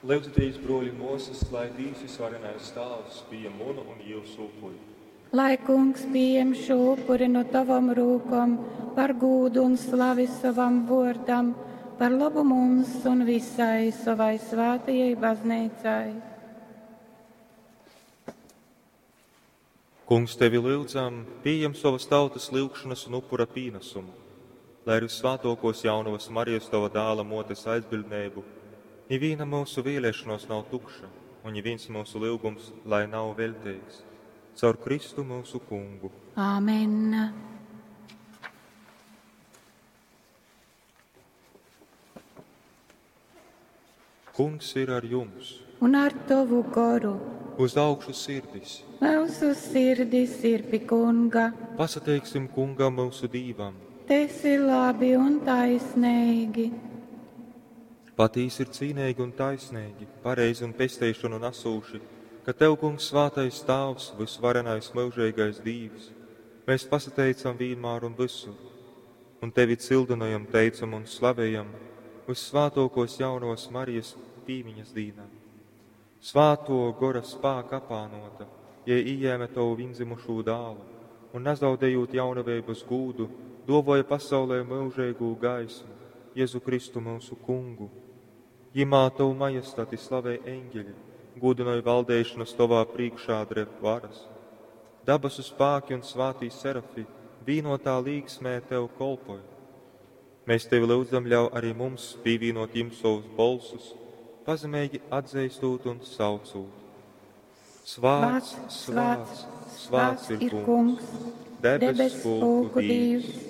Lyudzitīs, bruoļi un muosys, lai Dīvs Vysvarenais Tāvs pījem munu un jiusu upuri. Lai Kungs pījem šū upuri nu tovom rūkom par gūdu un slavi sovam vuordam, par lobu mums un visai sovai svātajai bazneicai. Kungs, tevi lyudzam, pījem sovas tautas lyugšanas un upura pīnesumu, lai ar Vissvātuokuos Jaunovys Marijas tova dāla muotes aizbiļdneibu nivīna myusu vīliešonuos nav tukša un nivīns myusu lyugums lai nav veļteigs. Caur Kristu myusu Kungu. Āmen. Kungs ir ar jums! Un ar tovu goru. Uz augšu sirdis! Myusu sirdis ir pi Kunga. Pasateiksim Kungam myusu Dīvam! Tes ir labi un taisneigi. Patīsi ir cīneigi un taisneigi, pareizi un pesteišonu nasūši, ka Tev, Kungs, svātais Tāvs, vysvarenais myužeigais Dīvs, mēs pasateicam vīnmār un vysur, un Tevi cildynojam, teicam un slavejam Vyssvātuokuos Jaunovys Marijas pīmiņas dīnā. Svātuo Gora spāka apānuota, jei ījēme Tovu vīndzimušū dālu un, nazaudejūt jaunaveibys gūdu, duovuoja pasaulē myužeigū gaismu, Jezu Kristu myusu Kungu. Jimā Tovu majestati slavej eņģeļi, gūdynoj valdeišanas Tovā prīškā dreb varas. Dabasu spāki un svātī serafi vīnotā līgsmē Tev kolpoj. Mēs Tevi lyudzam, ļauj arī mums pīvīnot jim savus bolsus, pazemeigi atzeistot un saucūt. Svāts, svāts, svāts ir Kungs, debess pulku Dīvs.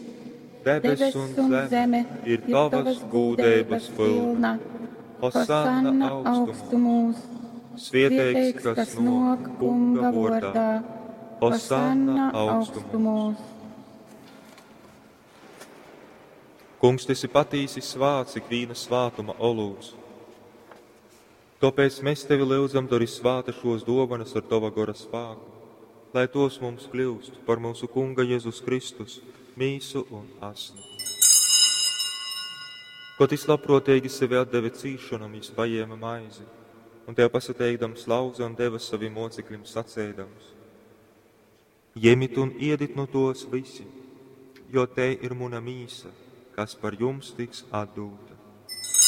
Debess un zeme ir Tavas gūdeibas pilna. Hosanna augstumūs. Svieteigs, kas nāk Kunga vordā. Hosanna augstumūs. Kungs, tu esi patīsi svāts ikvīna svātuma olūts. Tōpēc mēs tevi lyudzam, dori svāta šos dovanas ar tova gora spāku, lai tos mums kļūst par mūsu Kunga Jēzus Kristus mīsu un asni. Kod jis labprōteigi sevi atdeve cīsšonom, jis pajēma maizi un tev pasateikdams lauze un deva savim mocekļim saceidams: Jemit un iedit nu tos visi, jo te ir muna mīsa, kas par jums tiks atdūta.